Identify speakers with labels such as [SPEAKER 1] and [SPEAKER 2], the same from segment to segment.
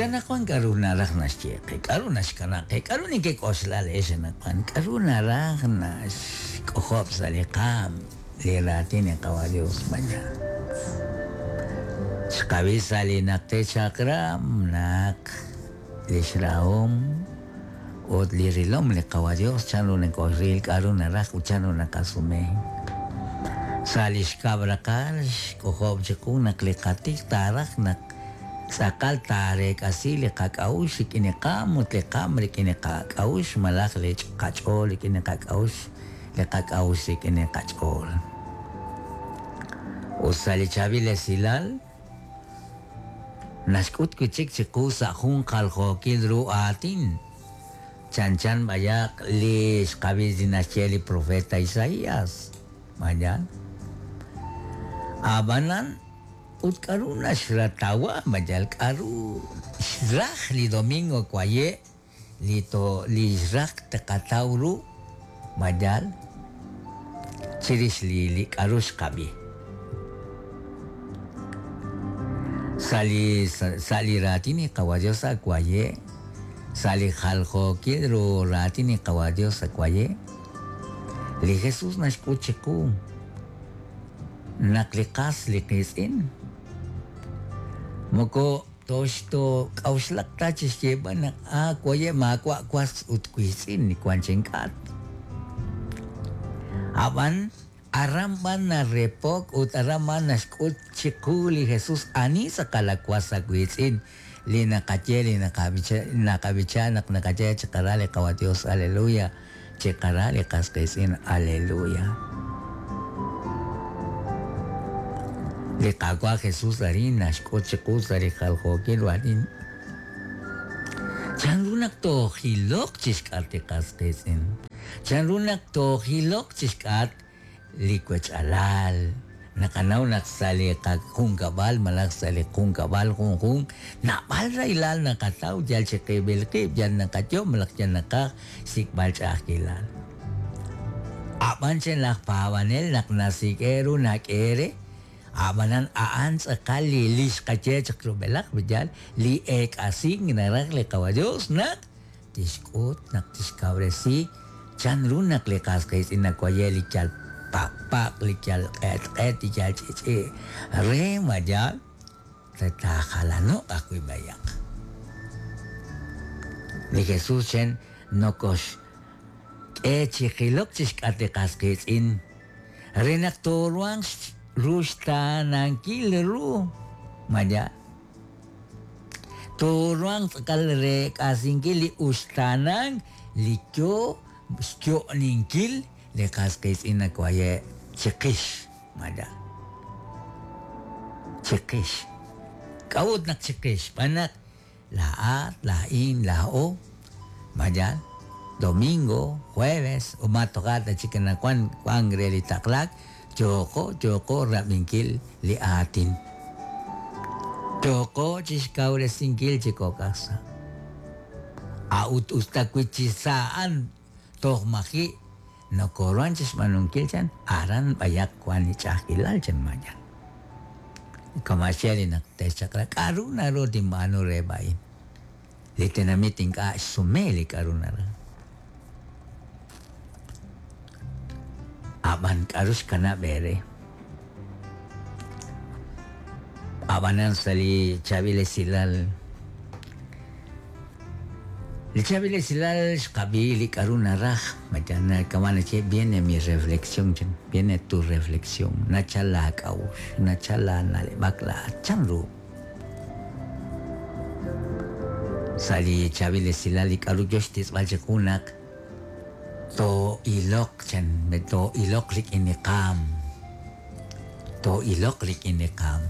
[SPEAKER 1] Ut anaqwan k'aru naraj naxye qe? K'aru naxkanab' qe? K'aru nekek'oxla laa'ex anaqwan? K'aru naraj naxk'ojob' sa' li qaanm li raatin li Qawa' Dios mañana? Xqab'i sa' li Najter Chaq'rab' naq lix rahom ut li rilom li Qawa' Dios chanru nokoxril, k'aru naraj ut chanru naqasume. Sa' li xkab' raqal xk'ojob' chiqu naq li qatij taaraj naq tz'aqal taareek'asi li qak'a'uxl rik'in li qaam ut li qaam rik'in li qak'a'uxl malaj li qach'ool rik'in li qak'a'uxl, li qak'a'uxl rik'in li qach'ool. Ut sa' li chaab'il esilal, naxk'ut wi' chik chiqu sa' jun jaljookil ru aatin, chanchan b'ayaq li xqab'i li naxye li profeta Isaías. Mañana. Ab'anan, ut k'aru naxratawa mayal k'aru xraj li domingo waye' li to li xraj tqataw ru mayal chirix li li k'aru xqab'i. Sa' li sa' li raatin li Qawa' Dios sa' waye', sa' li jaljookil ru raatin li Qawa' Dios sa' waye', li Jesús naxk'ut chiqu naq li qas li qiitz'in moko toxtok'a'uxlaq ta chi xyeeb'al naq a waye' maawa' was ut wiitz'in li wank chink'atq. Ab'an aran b'an narepok ut aran b'an naxk'ut chiqu li Jesús ani tz'aqal a was a wiitz'in li naqaye li naqab'icha naq naqaye chiqara li Qawa' Dios aleluya chiqara li qas qiitz'in aleluya. Li Qaawa' Jesús arin naxk'ut chiqu sa' li jaljookil ru aatin chanru naq toojiloq chixk'atq li qas qiitz'in, chanru naq toojiloq chixk'atq li wech'alal. Naqanaw naq sa' li qajunkab'al malaj sa' li junkab'al junjunq naab'al rahilal naqataw yal chiqib'il qib', yal naqayo' malaj yal naqaj xsik'b'al ch'a'ajkilal. Ab'an chen laj paab'anel naq nasik'e ru nak'e re, ab'anan a'an tz'aqal li li xqaye chaq rub'elaj yaal li eek'asink naraj li Qawa' Dios naq tixk'ut naq tixkawresi chanru naq li qas qiitz'in nawaye' li yal paqpaq, li yal q'etq'et, li yal ch'i'ch'i' re ma yaal re taajalano'q ajwi' b'ayaq. Li Jesús chen nokoxk'e chi jilok chixk'atq li qas qiitz'in re naq tooruhanq ruxtaanankil ru ma yaal. Tooruhanq tz'aqal reek'asinkil li uxtaanank li yo xyo'ninkil li qas qiitz'in nawaye' chiqix malaj chiqix. K'a'ut naq chiqix? Xb'aan naq laa'at, laa'in, laa'o, mayal, domingo, jueves, ut ma toja' ta chik anaqwan wank re li taqlaak, Yooko, yooko rab'inkil li aatin. Yooko chixkawresinkil chi kok' aj sa'. A'ut us ta wi chi sa' a'an toj maji' nokoruhan chixb'aanunkil chan, aran b'ayaq wan li ch'a'ajkilal chan mañana. Kama' xye li naq te'xchaq'rab', k'a'ru naru tinb'aanu re a'in? Li tenamit ink'a' xsume li k'a'ru naraj. Ab'an k'aru xkanab' eere? Ab'anan sa' li chaab'il esilal, li chaab'il esilal xqab'i li k'aru naraj, kama' naxye viene mi reflexión, viene tu reflexión, nachal laak'a'uxl, nachal laana'leb'ak laa'at, chanru? Sa' li chaab'il esilal li k'aru yo xtitz'b'al chiqu naq too'iloq chan too'iloq rik'in li qaanm, too'iloq rik'in li qaanm.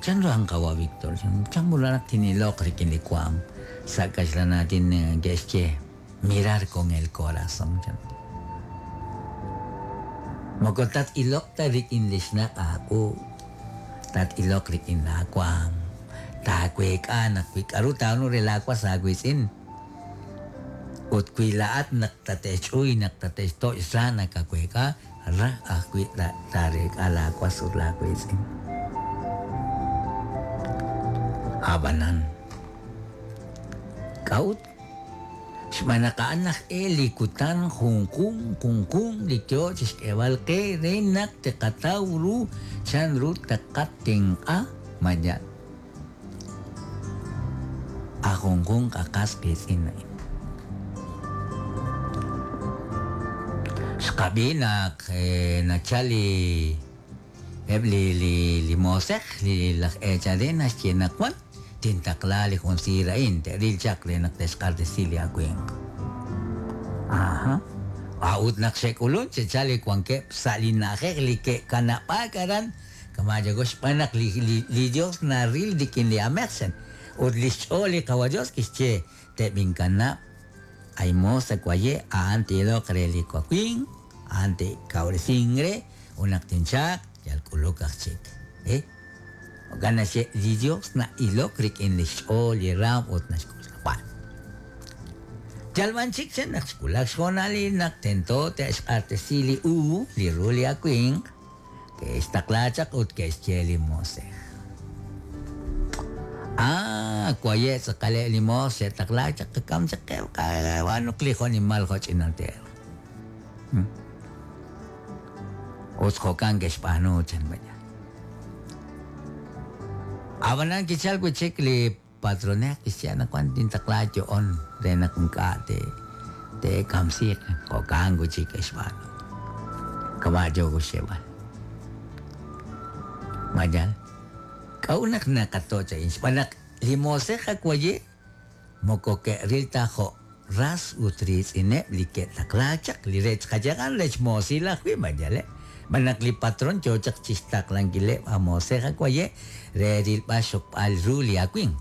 [SPEAKER 1] Chanru a'an qawa' Víctor? Chan ru naq tin'iloq rik'in li waanm? Sa' kaxlan aatin ke'xye mirar con el corazón chan. Moko tat-iloq ta rik'in li xnaq' aawu, tat-iloq rik'in laawaanm. Taaweek'a naq wi k'aru taab'aanu re laawas aawiitz'in ut wi laa'at naq tate'xch'uy, naq tate'xtoch' sa nakaweek'a, ra ajwi' taareek'a laawas ut laawiitz'in. Ab'anan, k'a'ut? Xb'aan naq a'an aj e li kutan junjunq junjunq li yo chi xk'eeb'al qe re naq tqataw ru chanru tqatenq'a malaj a junjunq a qas qiitz'in a'in. Xqab'i naq nachal li eb' li li li moosej li laj eechal re naxye naq wan tintaqla li jun siir a'in te'ril chaq re naq te'xq'axtesi li awimq. Aja. A'ut naq xe'k'ulunk xe'chal li wankeb' sa' li na'ajej li ke'kanab'aak aran kama' yago xb'aan naq li li li Yos naril rik'in li aamej chan. Ut li xch'ool li Qawa' Yos kixye, Teb'inkanab' ay moos sa' waye' a'an ti'iloq re li wawimq, a'an te'kawresinq re ut naq tinchaaq yal k'uluk aj chik. Eh? Jo'kan naxye, li Yos na'ilok rik'in li xch'ool li raanm ut naxk'oxla. Jwal. Yal b'an chik chan naq xwulak xhoonalil naq tento te'xq'axtesi li uub' li ru li awimq, ke'xtaqla chaq ut ke'xye li moosej. Ah, waye' tz'aqaleb' li moos xe'taqlaak chaq qakam chaq qe qab'aanuq li jo'nimal jo'ch'inal te'elq. Ut jo'kan ke'xb'aanu, chan Maya. Ab'anan kichalk wi' chik li patronej kixye anaqwan tintaqla yo'on re naq ink'a' te'kamsiiq. Jo'kan wi' chik ke'xb'aanu. Kama' yook xyeeb'al. Ma yaal? K'a'ut naq naqatoch' a'in? Xb'aan naq li moosej ak waye' Moko ke'ril ta jo' ras ut riitz'ineb' li ke'taqlaak chaq, li rech qayagan rech moosil ajwi' ma yaleb', xb'aan naq li patron yoo chaq chixtaqlankileb' a moosej a waye' re rilb'al xxokb'al ru li awimq.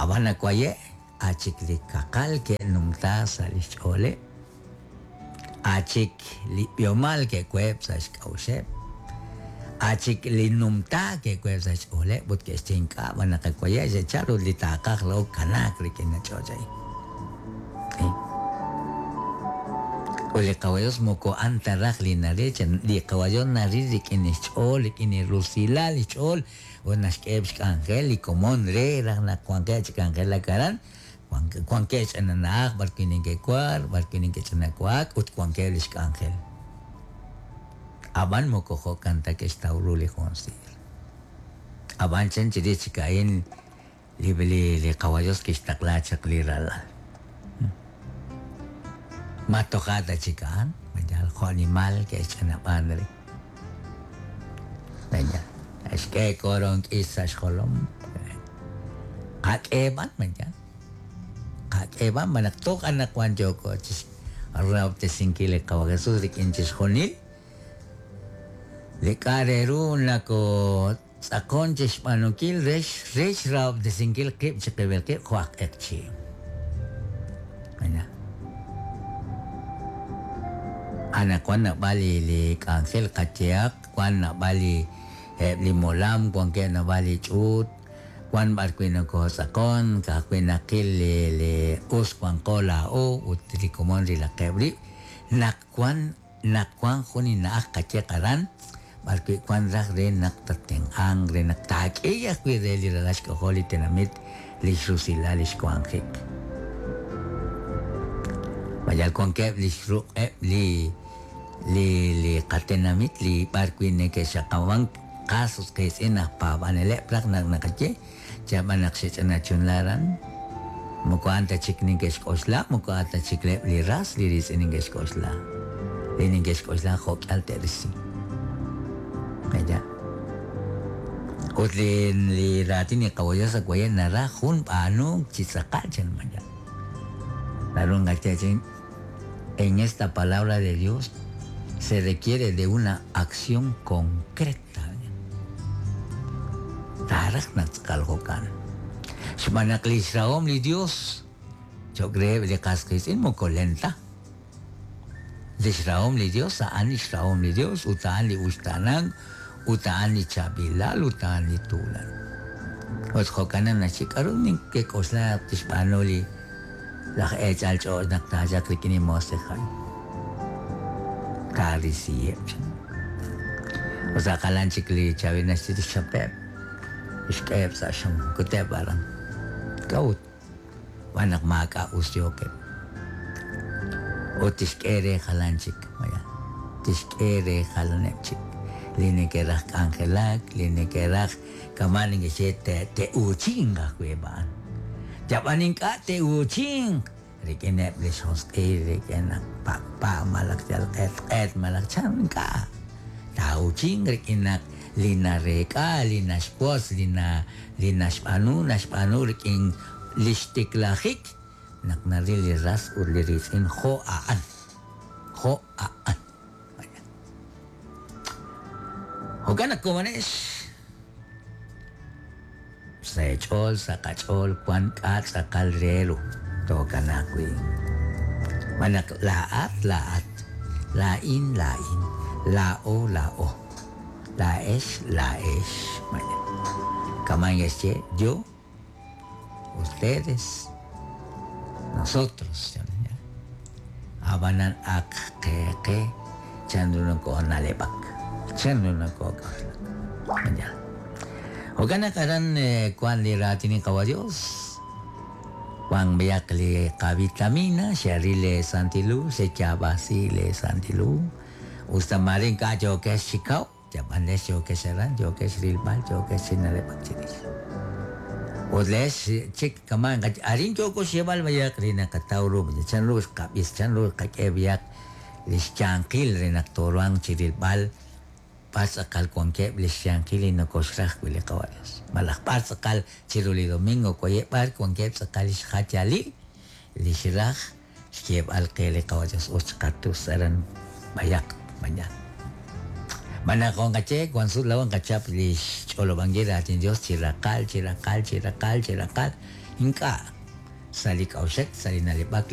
[SPEAKER 1] Ab'an a waye' a chik li kaqal ke'numta sa' lix ch'ooleb'. A' chik li b'ihomal ke'weheb' sa' xk'a'uxeb', a' chik li numtaak ke'weheb' sa' xch'ooleb' ut ke'xye ink'a' b'an naq qawaye' xe'chal ut li taaqaj laa'o kanaak rik'in li ch'och' a'in. Ut li Qawa' Dios moko a'an ta raj li naril, li Qawa' Dios naril rik'in li xch'ool, rik'in li rusilal li xch'ool ut naxk'eheb' xk'anjel li komon re raj naq wanqeb' chi k'anjelak aran. Wankeb' xch'ina na'aj b'arwi' neke'wark, b'arwi' neke'ch'inawak ut wankeb' li xk'anjel. Ab'an moko jo'kan ta ke'xtaw ru li jun siir. Ab'an chan chirix chik a'in li li Qawa' Yos kixtaqla chaq li Ralal. Ma toja' ta chik a'an? Ma yal jo'nimal ke'xch'anab'an re? Venga, xk'e koronk'is sa' xjolom. Qak'eeb'an, venga. Qak'eeb'an, ma naq toj anaqwan yooko chi xrahob'tesinkil li Qawa' Jesús rik'in chixjunil li k'a' re ru nakotz'aqon chi xb'aanunkil re re xrahob'tesinkil qib' chiqib'il qib' jo' aj q'eqchi'. Venga. Anaqwan naab'al li li k'anjel qayehaq, wan naab'al li eb' li molam, wankeb' naab'al li ch'uut, wan b'ar wi' nokotz'aqon, ka'ajwi' naqil li li us wanqo laa'o ut li komon rilaqeb' rib', naq wan naq wan jun li na'aj qayeq aran b'ar wi' wan raj re naq tattenq'anq, re naq taak'e ajwi' re li ralal xk'ajol li tenamit li xrusilal li xwanjik. Ma yal wankeb' li xruq'eb' li li li qatenamit li b'ar wi' neke'xaqab'ank qas ut qiitz'in aj paab'aneleb' raj naq naqaye, chab'an naq xe'ch'ina chunla aran, moko a'an ta chik neke'xk'oxla, moko a'an ta chik reheb' li ras li riitz'in neke'xk'oxla, li neke'xk'oxla jo' k'ihal te'risi. Aya. Ut li li raatin li Qawa' Dios sa' waye' naraj jun b'aanunk chi tz'aqal chan maya. Naru nqaye chi en esta palabra de Dios se requiere de una acción concreta. Taaraj naq tz'aqal jo'kan. Xb'aan naq li xrahom li Dios cho'q reheb' li qas qiitz'in moko len ta. Li xrahom li Dios a'an li xrahom li Dios ut a'an li uxtaanank ut a'an li chaab'ilal ut a'an li tuulan. Ut jo'kan naq naxye k'aru nekek'oxla naq tixb'aanu li laj eechal ch'och' naq taachalq rik'in li moosej a'in. Taarisiheb' chan. Ut sa' jalan chik li chaab'il naxye tixchapeb'. Kixk'eheb' sa' xam, kuteb' aran. K'a'ut? Xb'aan naq maak'a' us yookeb'. Ut tixk'e re jalan chik, maya. Tixk'e re jalaneb' chik li neke'raj k'anjelak, li neke'raj kama' neke'xye te'uuchinq ajwi' eb' a'an. Yab'an ink'a' te'uuchinq rik'ineb' li xjosq'il, rik'in naq paqpa' malaj yal q'etq'et malaj chan ink'a'. Taa'uuchinq rik'in naq li nareek'a, li naxwotz, li na li naxb'aanu, naxb'aanu rik'in li xtiklajik naq naril li ras ut li riitz'in jo' a'an. Jo' a'an. Jo'kan naq komonex sa' eech'ool, sa' qach'ool wan k'a' tz'aqal re ru tookanaaq wi'. Xb'aan naq laa'at, laa'at, laa'in, laa'in, laa'o, laa'o, laa'ex, laa'ex. Kama'an ke'xye yo, ustedes, nosotros. Ab'anan ak qe qe chanru nokoona'leb'ak, chanru nokook'oxlak. Jo'kan naq aran wan li raatin li Qawa' Dios, wan b'ayaq li qavitamina, xeril lee Santil Hu, xeyaab'asi lee Santil Hu, us ta maare ink'a' yookex chi kaw, yab'an lex yookex aran, yookex rilb'al, yookex chi na'leb'ak chirix. Ut leex chik kama'an arin yooko xyeeb'al b'ayaq li naqataw ru, chanru xqab'is, chanru xqak'e b'ayaq li xyanqil re naq tooruhanq chi rilb'al b'ar tz'aqal wankeb' li xyanqil li nokoxraj wi' li Qawa' Dios. Malaj b'ar tz'aqal chiru li domingo waye' b'ar wankeb' tz'aqal li xjayalil li xraj xyeeb'al qe li Qawa' Dios ut xqatus aran b'ayaq mañana. Malaj qonqache wan sut laa'o nqachap li xch'olob'ankil raatin Dios chi raqal, chi raqal, chi raqal, chi raqal, ink'a' sa' li k'a'uxek, sa' li na'leb'ak.